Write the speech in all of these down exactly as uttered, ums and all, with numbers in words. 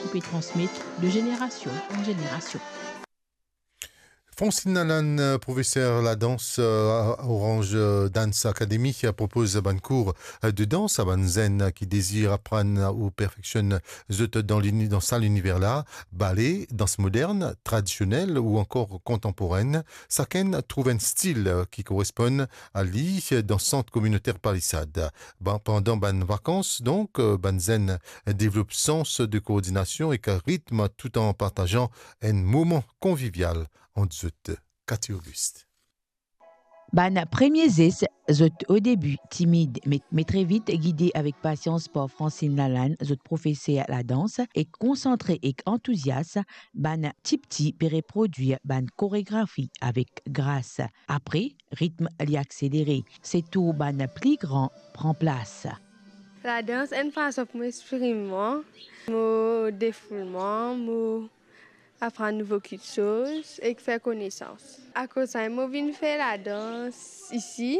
ki pe transmet de zenerasion an zenerasion. Francine Lalanne, euh, profeser ladans, euh, Orange, euh, Dance Academy, propoz bann kour, euh, de dans a bann zenn ki dezir aprann ou perfeksionn zot dan lini-, dan sa liniver la, bale, dans modern, tradisionel ou ankor kontanporenn. Sakenn trouv enn stil, euh, ki koresponn a li dan sant kominoter Palisad. Ban-, pandan bann vakans, donk, euh, bann zenn devlop sans de koordinasion ek ritm, tout an partazan enn moman konvivial ant zot. Cathy Auguste. Bann premie zes, zot odebi timid, me, me tre vit gide avek pasians par Francine Lalanne, zot profeser ladans, e konsantre ek antouzias, bann tipti pe reprodwir bann koregrafi avek gras. Apre, ritm li akselere, se tour bann pli gran pran plas. Ladans enn fason pou mo exprim mwa, mo defoul mwa, mo aprann nouvo kiksoz ek fer konesans. Akoz sa, mo vinn fer ladans isi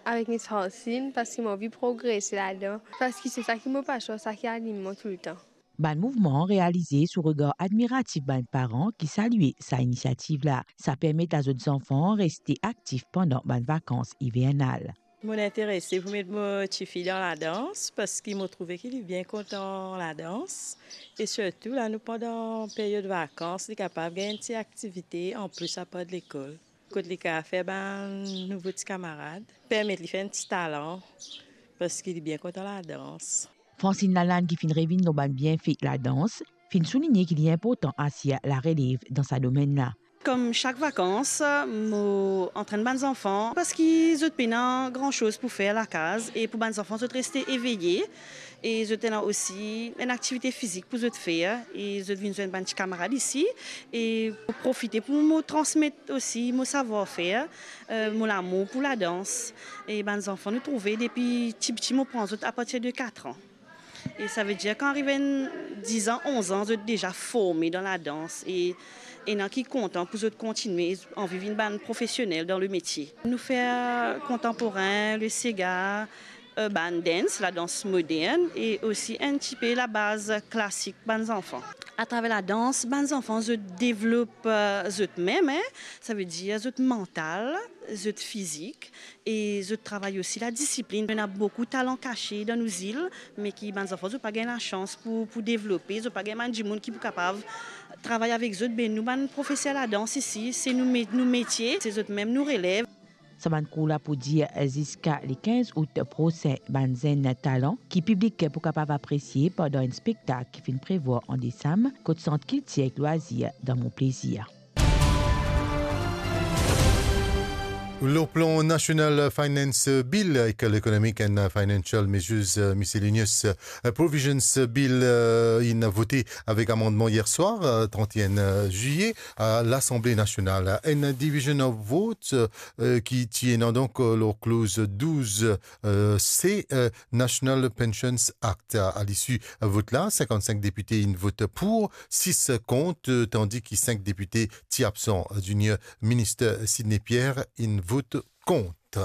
avek Miss Francine, parski mo anvi progrese ladan, parski se sa ki mo pasion, sa ki anim mwa toultan. Bann mouvman realize sou regar admiratif bann paran ki salie sa inisiativ la. Sa permet a zot zanfan reste aktif pandan bann vakans ivernal. Mo interese pou met mo tifi dan ladans, parski mo trouve ki li bien kontan ladans, e sirtou la nou pandan peryod vakans, li kapav gagn enn ti aktivite anplis apar lekol, kot li kapav fer bann nouvo ti kamarad, permet li fer enn ti talan, parski li bien kontan ladans. Francine Lalanne, ki finn revinn lor bann bienfe ladans, finn souligne ki li inportan asir larelev dan sa domenn la. Kom sak vakans, mo antrenn bann zanfan, parski zot pena gran soz pou fer lakaz, e pou bann zanfan, zot reste eveye, e zot ena osi enn aktivite fizik pou zot fer, e zot vinn zwenn bann ti kamarad isi, e mo profite pou mo transmet osi mo savwar-fer, eh, mo lamour pou ladans. E bann zanfan, nou trouve depi tipti, mo pran zot apartir de kat an. E savedir, kan ariv enn diz an, onz an, zot deza forme dan ladans e ena ki kontan pou zot kontigne, anvi vinn bann profesionel dan lemetie. Nou fer kontanporen, le sega, eh, bann dans, ladans modern e osi enn tipe labaz klasik bann zanfan. Atraver ladans, bann zanfan, zot devlop, eh, zot mem, en, savedir zot mantal, zot fizik, e zot travay osi ladisiplin. Ena boukou talan kase dan nou zil, me ki bann zanfan, zot pa gagn lasans pou, pou devlope, zot pa gagn bann dimoun ki pou kapav travay avek zot. Be nou bann profeser ladans isi, se nou me-, nou metie, se zot mem nou relev. Sa bann kour la pou dir ziska le kinz out prosin, bann zenn talan ki piblik pou kapav apresie pandan enn spektak ki finn prevwar an desam kot Sant Kiltir ek Lwazir dan Mon Plezir. Lor plan nasional, Finance Bill ek l'Economic and Financial Measures Miscellaneous Provisions Bill, eh, inn vote avek amannman yer swar, eh, trant-e-enn zilye, a Lasanble Nasional. Enn division of vote, eh, ki ti ena donk, eh, lor kloz douz, eh, C, eh, National Pensions Act. A, a lisi vot la, sinkann-sink depite inn vot pou, sis kont, tandi ki sink depite ti absan. Junior Minister Sidney Pierre inn vot kont.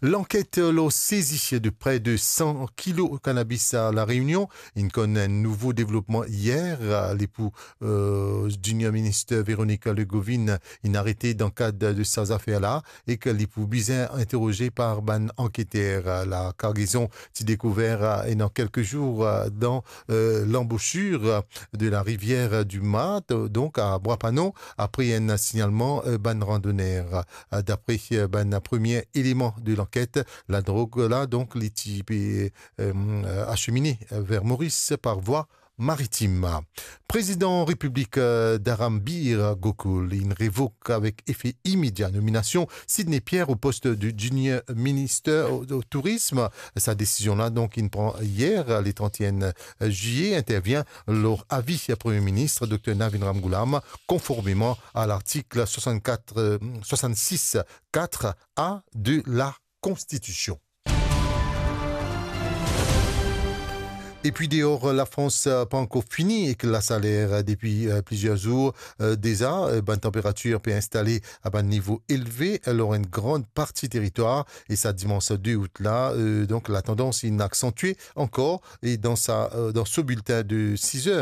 Lanket lor sezi de pre de san kilo kanabis a La Reunion inn konn enn nouvo devlopman yer. Li pou, eh, Junior Minister Véronique Legoovin inn arete dan kad de sa zafer la, e ki li pou bizin interoze par bann anketer. La kargezon ti dekouver, eh, ena kelke zour, eh, dan, eh, lanbosir, eh, de la rivière du Mat, eh, donk a Bwa Panon, apre enn signalman, eh, bann randoner. Eh, dapre, eh, bann premie eleman de lanket, ladrog la, donk, li ti pe, eh, asemine ver Moris par vwa maritim. Prezidan Repiblik, eh, Dharambir Gokul inn revok avek efe imedia nominasion Sidney Pierre o post de Junior Minister o, o Tourism. Sa desizion la, donk, inn pran yer, le trant-e-enn zilye, intervien lor avi Premie Minis Dokter Navin Ramgoolam, konformeman a lartik swasannkat, eh, swasannsis kat A de la Konstitision. Epi deor, Lafrans, eh, pa ankor fini ek lasaler, eh, depi, eh, plizier zour, eh, deza, eh, bann tanperatir pe instale a bann nivo elve, eh, lor enn gran parti teritwar, e sa dimans de out la, eh, donk latandans inn aksantie ankor, e dan sa, eh, dan so biltin de siz er,